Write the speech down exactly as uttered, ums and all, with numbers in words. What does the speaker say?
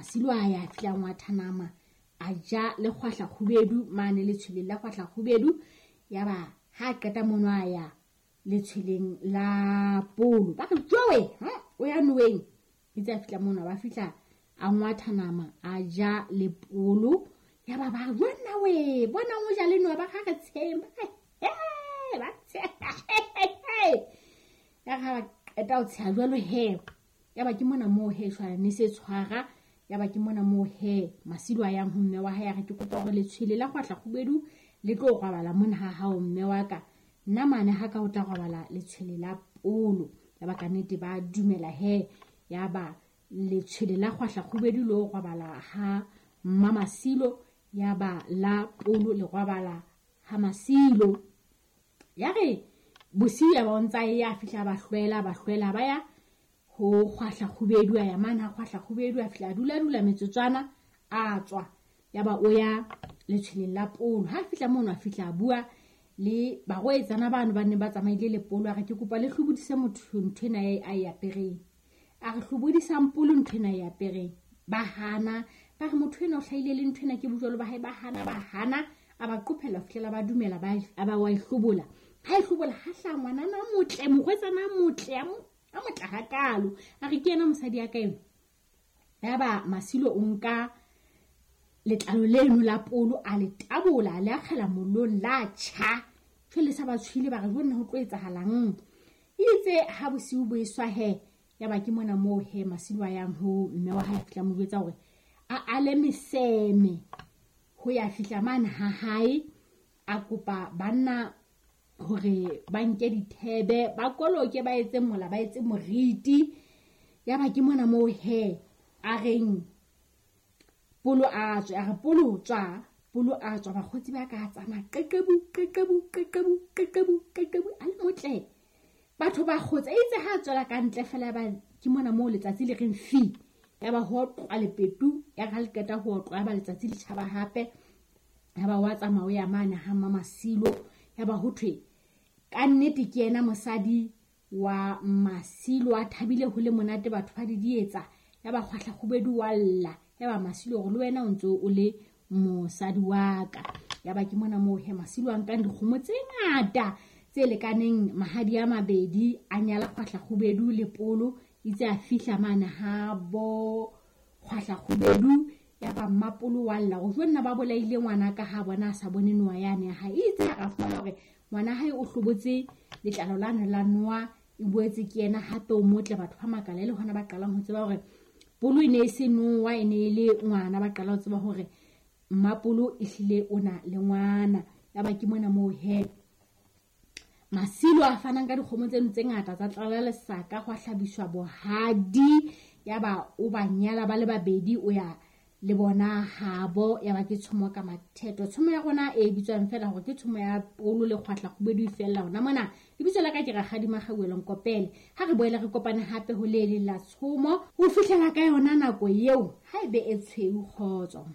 Masilo a ya fihla ngwatha nama a ja le kgwahla kgubedu mane letshweleng la kgwahla kgubedu. Ya ba ha qeta mono a ya letshweleng la polo, ba re jowe o ya noweng. Itse a fihla mono ba fihla a ngwatha nama a ja le polo. Ya ba ba bona we bona o ja le noa, ba ga re tsheng ba he ba tsheha. Ya ga qeta o tsheha jwalo he. Ya ba ke mona moo he jwale ne se tshwara. Ya ba ke mona moo he Masilo a yang ho mme wa hae a re ke kopa hore letshwele la kgwahla kgubedu le tlo robala mona ha hao mme wa ka, nna mane ha ka o tla robala letshwele la polo. Ya ba ka nnete ba dumela he. Ya ba letshwele la kgwahla kgubedu lo robala ha mma Masilo, ya ba la polo le robala ha Masilo. Ya re bosiu ya ba o ntsa ya fihla ba hlwela ba hlwela ba ya ho kgwahla kgubedu. A ya mane ha kgwahla kgubedu a fihla a dula dula metsotswana a tswa. Ya ba o ya letshweleng la polo. Ha fihla mono a fihla a bua le barwetsana bano ba neng ba tsamaile le polo. A re ke kopa le hlobodise motho nthwena a e apereng. A re hlobodisang polo nthwena e apereng. Ba hana, ba re motho ena o hlahile le nthwena ke bojwalo ba hae. Ba hana ba hana, a ba qophella ho fihlela ba dumela ba a ba wa e hlobola. Ha e hlobola ha hlaha ngwanana a motle, morwetsana a motle a a motle hakalo. A re ke yena mosadi ya ka eno. Ya ba Masilo o nka letlalo leno la polo a le tabola, a le akgela mollong la tjha. Jwale sa ba tshwile ba re jonna ho tlo etsahalang. Itse ha bosiu bo eswa he, ya ba ke mona moo he Masilo a yang ho mme wa hae a fihla mo jwetsa hore a ale meseme ho ya fihla mane ha hae. A kopa banna hore ba nke dithebe ba koloke ba etse mola ba etse moriti. Ya ba ke mona moo he a reng polo a tswe, a re polo tswa, polo a tswa. Bakgotsi ba ka tsamaya qeqebu qeqebu qeqebu qeqebu qeqebu a le motle. Batho ba kgotsa itse ha tswela ka ntle fela ba ke mona moo letsatsi le reng fi. Ya ba ho otlwa lepetu, ya re ha le qeta ho otlwa ya ba letsatsi le tjhaba hape. Ya ba wa tsamaya o ya mane ha mma Masilo. Ya ba ho thwe ka nnete ke yena mosadi wa Masilo, a thabile ho le monate batho ba di dietsa. Ya ba kgwahla kgubedu wa lla. Ya ba Masilo hore le wena o ntso o le mosadi wa ka. Ya ba ke mona moo he Masilo a nkang dikgomo tse ngata tse lekaneng mahadi a mabedi, a nyala kgwahla kgubedu le polo. Itse a fihla mane ha bo kgwahla kgubedu. Ya ba mmapolo wa lla hore jonna ba bolaile ngwana ka ha bona a sa bone noa yane ya hae. Itse a fumana hore ngwana hae o hlobotse letlalo lane la noa, e boetse ke yena hape o motle. Batho ba makala le hona ba qalang ho tseba hore polo e ne e se noa, e ne e le ngwana. Ba qala ho tseba hore mmapolo ehlile o na le ngwana. Ya ba ke mona moo he Masilo a fanang ka dikgomo tseno tse ngata tsa tlala lesaka, ho hlabiswa bohadi. Ya ba o ba nyala ba le babedi, o ya le bona habo. Ya ba ke tshomo ka matheto. Tshomo ya rona e bitswang fela hore ke tshomo ya polo le kgwahla kgubedu e fella hona mona. Lebitso la ka ke Rakgadi Makgauwelo Nkopele. Ha re boele re kopane hape ho le leng la tshomo ho fihlela ka yona nako eo ha ebe e tshweu. Kgotso.